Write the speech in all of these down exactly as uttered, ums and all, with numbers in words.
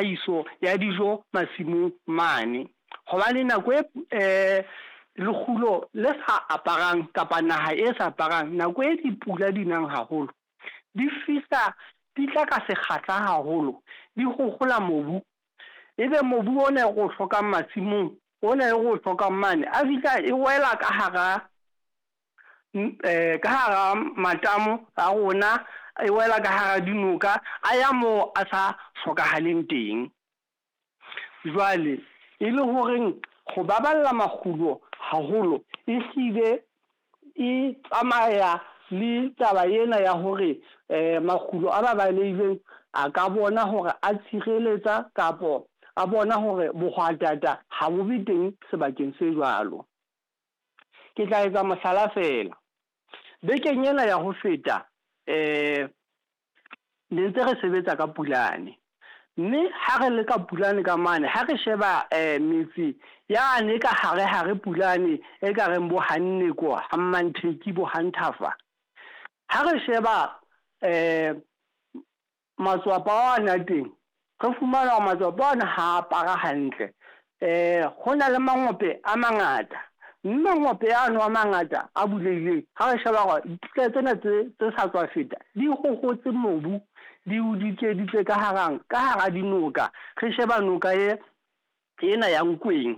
tlhahiso ya dijo masimong mane. Hobane nako e eh lekgulo le sa aparang kapa naha e sa aparang, nako e dipula di nang haholo, di fihla di tla ka sekgahla haholo, di kgokgola mobu. Ebe mobu ona e re o hlokang masimong, ona e re o hlokang mane, a fihla e wela ka hara ka hara matamo a rona, e wela ka hara dinoka, a ya moo a sa hlokahaleng teng. Jwale e le horeng ho baballa makgulo haholo, ehlile e tsamaya le taba ena ya hore makgulo a babalehileng a ka bona hore a tshireletsa kapo a bona hore bohwatata ha bo be teng sebakeng se jwalo. Ke tla etsa mohlala feela. Bekeng ena ya ho feta ne ntse re sebetsa ka Pulane. Mme ha re le ka Pulane ka mane, ha re sheba metse yane ka hare hare Pulane e ka reng bo Hanneko, ha Mmantheki, bo Hanthafa. Ha re sheba matswapa ana a teng, re fumana hore matswapa ana ha apara hantle. Ho na le mangope a mangata, mme mangope ano a mangata a bulehileng, ha re sheba hore dipula tsena tse tse sa tswa feta di kgokgotse mobu, di o dikeditse ka harang, ka hara dinoka. Re sheba noka e ena ya Nkweng,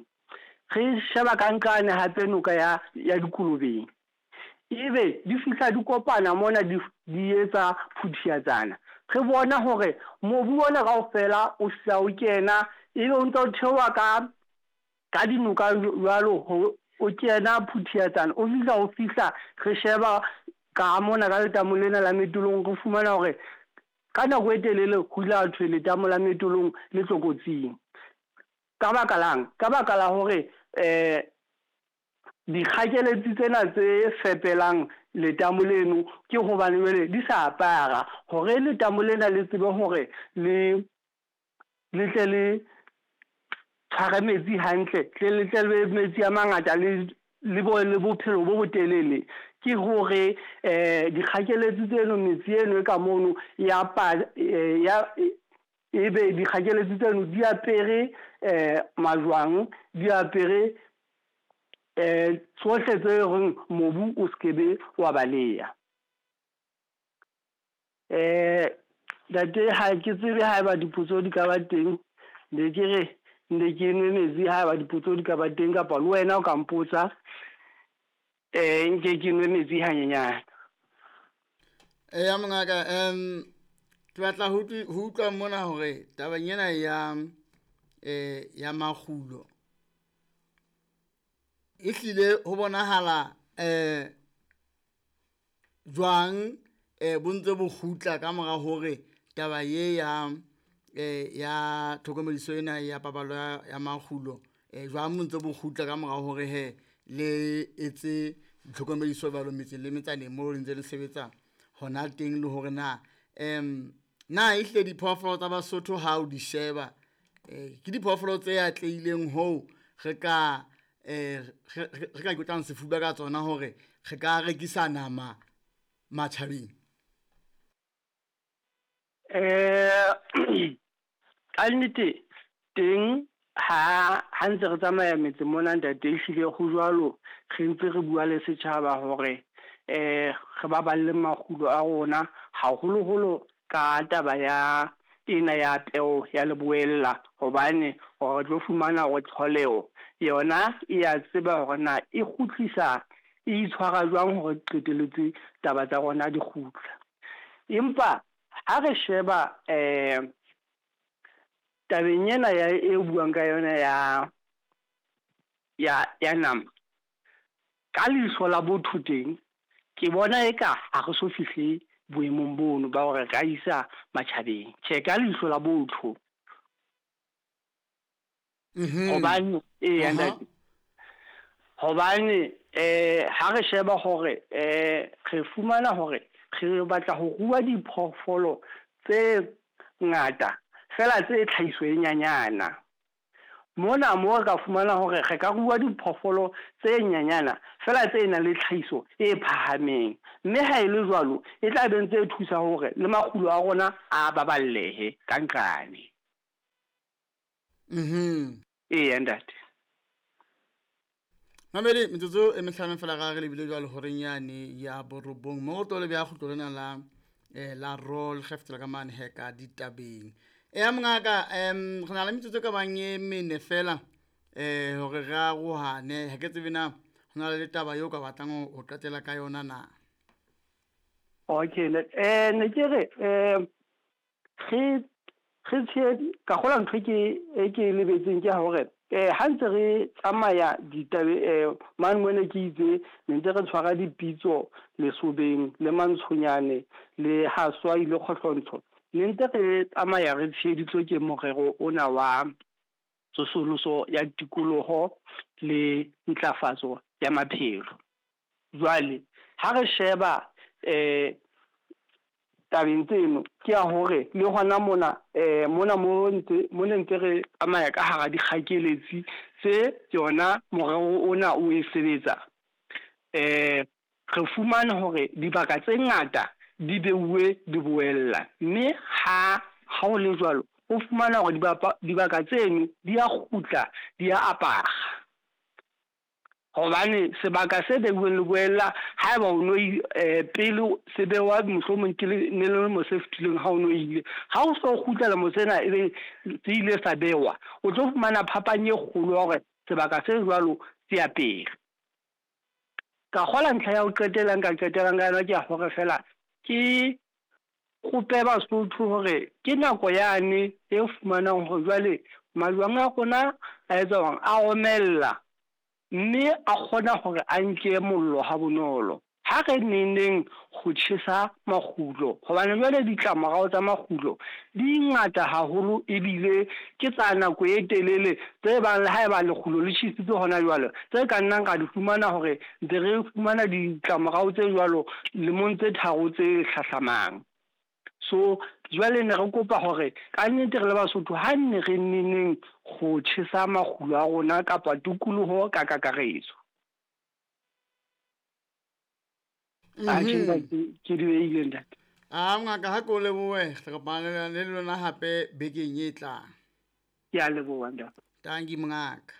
re sheba ka nqane hape noka ya ya Dikolobeng. Ebe di fihla di kopana mona di di etsa phuthiatsana. Re bona hore mobu ona kaofela o fihla o kena, ebe o ntso o theoha ka ka dinoka jwalo ho o kena phuthiatsana, o fihla o fihla re sheba ka mona ka letamo lena la Metolong, re fumana hore ka nako e telele ho ile ha thwe letamo la Metolong le tlokotsing. Ka baka lang? Ka baka la hore dikgakeletsi tsena tse fepelang letamo leno ke hobane jwale di sa apara hore letamo lena le tsebe hore le le tle le tshware metsi hantle, tle le tle le metsi a mangata le le bo le bophelo bo botelele. Ke hore dikgakeletsi tseno metsi eno e ka mono ya pa ya ebe dikgakeletsi tseno di apere majwang, di apere tsohle tse reng mobu o skebe wa baleha. Ntate ha ke tsebe haeba dipotso di ka ba teng, ne ke re ne ke nwe metsi haeba dipotso di ka ba teng kapa le wena o ka mpotsa nke ke nwe metsi hanyenyane. Eya mongaka, um ke batla ho utlwa mona hore tabeng ena ya eh ya makgulo ehlile ho bonahala eh jwang eh bo ntse bo kgutla ka mora hore taba ye ya eh ya tlhokomediso ena ya paballo ya makgulo eh jwang bo ntse bo kgutla ka mora hore he le etse tlhokomediso jwalo metseng le metsaneng mo le ntse le sebetsa hona teng, le hore na em na ehlile diphoofolo tsa Basotho ha o di sheba eh ke diphoofolo tse atlehileng hoo re ka eh re ka ikotlang sefuba ka tsona hore re ka rekisa nama matjhabeng? Eh ka nnete teng ha ha ntse re tsamaya metse mona ntate, ehlile ho jwalo, re ntse re bua le setjhaba hore eh re baballe makgulo a rona haholoholo ka taba ya ena ya peo ya leboella, hobane re tlo fumana hore tlholeho yona e ya tseba hore na e kgutlisa e itshwara jwang hore qetelletse taba tsa rona di kgutla. Empa ha re sheba eh tabeng ena ya e buang ka yona ya ya ya nama, ka leihlo la botho teng ke bona eka ha re so fihle boemong bono ba hore re ka isa matjhabeng. Tjhe, ka leihlo la botho. Hobane eya ntate, hobane eh ha re sheba hore eh re fumana hore re batla ho rua diphoofolo tse ngata fela tse tlhahiso e nyanyana. Mona mo re ka fumana hore re ka rua diphoofolo tse nyanyana fela tse nang le tlhahiso e phahameng, mme ha e le jwalo e tla be ntse e thusa hore le makgulo a rona a baballehe ka nqane. Mhm. Eya ntate. Mamedi, metsotso e mehlano fela ga re lebile jwale horeng yane ya borobong mo go tlo le bja kgutlo lena la eh, la roll ge fetela ka mane he ka ditabeng. Eya mongaka, um re na le metsotso e ka bang e mene fela um hore re arohane. Ha ke tsebe na ho na le taba eo ka batlang ho ho qetela ka yona na. Okay, ne eh ne ke re eh re re tshe ka kgola ntho e ke e ke e lebetseng ke hore eh ha ntse re tsamaya ditabe eh mane mona ke itse ne ntse re tshwara dipitso Lesobeng le Mantshonyane le Haswai le Kgohlontsho, ne ntse re tsamaya re tsheheditswe ke morero ona wa tsosoloso ya tikoloho le ntlafatso ya maphelo. Jwale ha re sheba eh tabeng tseno ke ya hore le hona mona eh mona mo ntse mo ne ntse re tsamaya ka hara dikgakeletsi tse yona morero ona o e sebetsa, eh re fumane hore dibaka tse ngata di beuwe di boella, mme ha ha ho le jwalo o fumana hore dibapa dibaka tseno di a kgutla di a apara. Hobane sebaka se beuweng leboella haeba o no eh pele se bewa mohlomong ke le ne le mo se fetileng ha o no ile, ha o so kgutlela mo sena ebe se ile sa bewa, o tlo fumana phapang e kgolo ya hore sebaka se jwalo se apere. Ka kgola ntlha ya ho qetela nka qetelang ka yona ke ya hore fela ke kope Basotho hore ke nako yane e fumanang hore jwale majwang a rona a etsa hore a omella, mme a kgona hore a nke mollo ha bonolo. Ha re neneng ho tjhesa makgulo, hobane jwale ditlamorao tsa makgulo di ngata haholo ebile ke tsa nako e telele tse bang le haeba lekgulo le tjhesitswe hona jwale, tse ka nnang ra di fumana hore ntse re fumana ditlamorao tse jwalo lemong tse tharo tse hlahlamang. So jwale ne re kopa hore ka nnete re le Basotho ha nne re neneng ho tjhesa makgulo a rona kapa tikoloho ka kakaretso. Atjhe ntate, ke di behile ntate. A mongaka, ha ke o lebohe, re kopana le lona hape bekeng e tlang. Ke a leboha ntate. Tanki mongaka.